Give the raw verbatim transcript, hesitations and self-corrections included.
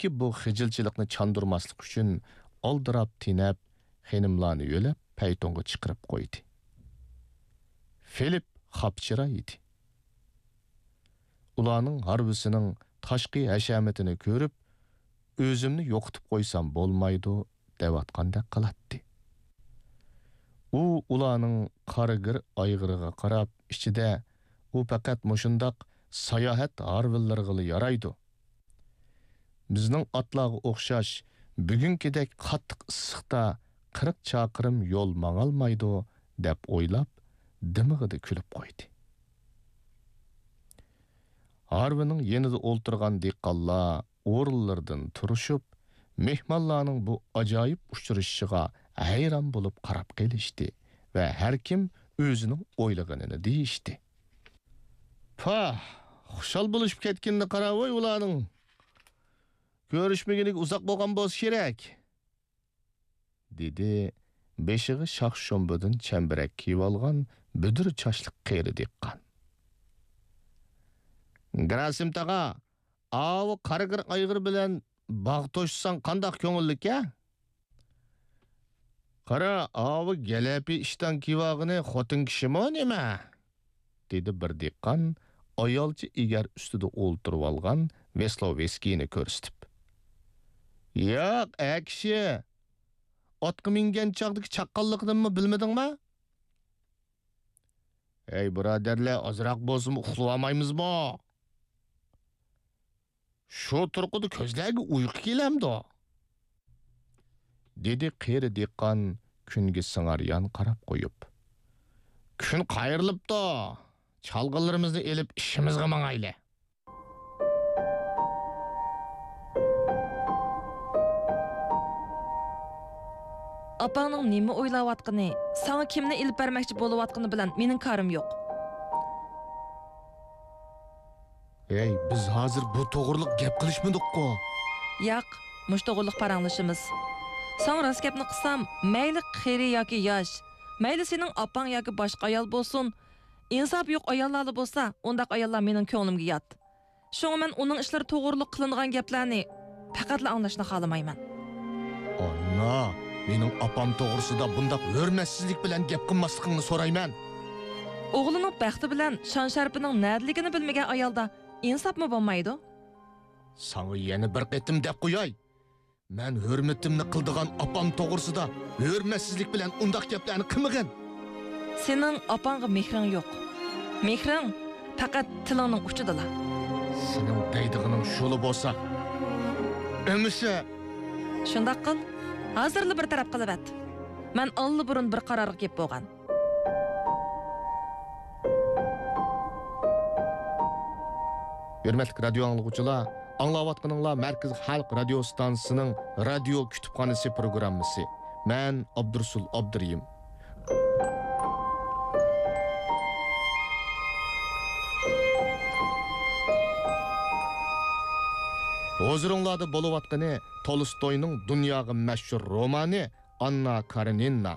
بۇ خىجىلچىلىقنى چاندۇرماسلىق ئۈچۈن ئالدىراپ تېنەپ، خېنىملارنى يۆلەپ پەيتۇنغا چىقىرىپ قويدى. فىلىپ خاپچىراي ئىدى. ئۇلارنىڭ ھارۋىسىنىڭ تاشقى ھەشەمىتىنى كۆرۈپ، ئۆزۈمنى يوقىتىپ قويسام بولمايدۇ دەۋاتقاندەك قىلاتتى. ئۇ ئۇلارنىڭ قارىگىر ئايغىرىغا قاراپ ئىچىدە، ئۇ پەقەت مۇشۇنداق ساياھەت ھارۋىلىرىغىلا يارايدۇ. بىزنىڭ ئاتلارغا ئوخشاش بۈگۈنكىدەك قاتتىق ئىسسىقتا قىرىق چاقىرىم يول ماڭالمايدۇ دەپ ئويلاپ، دىمىقىدا كۈلۈپ قويدى. ھارۋىنىڭ يېنىدا ئولتۇرغان دېھقانلار ئورۇنلىرىدىن تۇرۇشۇپ، مېھمانلارنىڭ بۇ ئاجايىپ ئۇچرىشىشىغا ھەيران بولۇپ قاراپ قېلىشتى ۋە ھەركىم ئۆزىنىڭ ئويلىغىنىنى دېيىشتى. پاھ، خۇشال بولۇشۇپ كەتكىنىنى قاراۋۇي ئۇلارنىڭ. كۆرۈشمىگىنىگە ئۇزاق بولغان بولسا كېرەك، دېدى بېشىغا شاخ-شۇمبىدىن چەمبىرەك كىيىۋالغان بۈدۈر چاچلىق قېرى دېھقان. گېراسىم تاغا، ئاۋۇ قارىگىر ئايغىر بىلەن باغ توشساڭ قانداق كۆڭۈللۈك-ھە؟ قارا، ئاۋۇ گەلەپى ئىشتان كىيىۋالغىنى خوتۇن كىشىمۇ نېمە؟ دېدى بىر دېھقان ئايالچە ئېگەر ئۈستىدە ئولتۇرۇۋالغان ۋېسلوۋېسكىينى كۆرسىتىپ. ياق، ئەكىشى، ئاتقا مىنگەن چاغدىكى چاققانلىقىنىمۇ بىلمىدىڭما؟ ھەي، بۇرادەرلەر، ئازراق بولسىمۇ ئۇخلىۋالمايمىزمۇ؟ شۇ تۇرقىدا كۆزلەرگە ئۇيقۇ كېلەمدۇ؟ دېدى قېرى دېھقان كۈنگە سىڭاريان قاراپ قويۇپ. كۈن قايرىلىپتۇ. چالغىلىرىمىزنى ئېلىپ ئىشىمىزغا ماڭايلى. ئاپاڭنىڭ نېمە ئويلاۋاتقىنى، ساڭا كىمنى ئېلىپ بەرمەكچى بولۇۋاتقىنى بىلەن مېنىڭ كارىم يوق. ھەي، بىز ھازىر بۇ توغرىلىق گەپ قىلىشمىدۇققۇ؟ ياق، مۇشۇ توغرىلىق پاراڭلىشىمىز. ساڭا راست گەپنى قىلسام، مەيلى قېرى ياكى ياش، مەيلى سېنىڭ ئاپاڭ ياكى باشقا ئايال بولسۇن، ئىنساپى يوق ئاياللارلا بولسا، ئۇنداق ئاياللار مېنىڭ كۆڭلۈمگە يات. شۇڭا مەن ئۇنىڭ ئىشلىرى توغرۇلۇق قىلىنغان گەپلەرنى پەقەتلا ئاڭلاشنى خالىمايمەن. ئانا، مېنىڭ ئاپام توغرىسىدا بۇنداق ھۆرمەتسىزلىك بىلەن گەپ قىلماسلىقىڭنى سورايمەن. ئوغلىنىڭ بەختى بىلەن شان-شەرىپىنىڭ نەدىلىكىنى بىلمىگەن ئايالدا ئىنساپمۇ بولمايدۇ. ساڭا يەنە بىر قېتىم دەپ قوياي. مەن ھۆرمىتىمنى قىلىدىغان ئاپام توغرىسىدا ھۆرمەتسىزلىك بىلەن ئۇنداق گەپلەرنى قىلمىغىن. سېنىڭ ئاپاڭغا مېھرىڭ يوق. مېھرىڭ پەقەت تىلىڭنىڭ ئۇچىدىلا. سېنىڭ دەيدىغىنىڭ شۇلا بولسا، ئەمىسە. شۇنداق قىل، ھازىرلا بىر تەرەپ قىلىۋەت. مەن ئاللىبۇرۇن بىر قارارغا كېلىپ بولغان. ھۆرمەتلىك رادىيو ئاڭلىغۇچىلار، ئاڭلاۋاتقىنىڭلار مەركىزىي خەلق رادىيو ئىستانسىسىنىڭ رادىيو كۇتۇپخانىسى پروگراممىسى. مەن ئابدۇرۇسۇل ئابدۇرېھىم. ھۇزۇرۇڭلاردا بولۇۋاتقىنى تولستوينىڭ دۇنياغا مەشھۇر رومانى ئاننا كارېنىنا.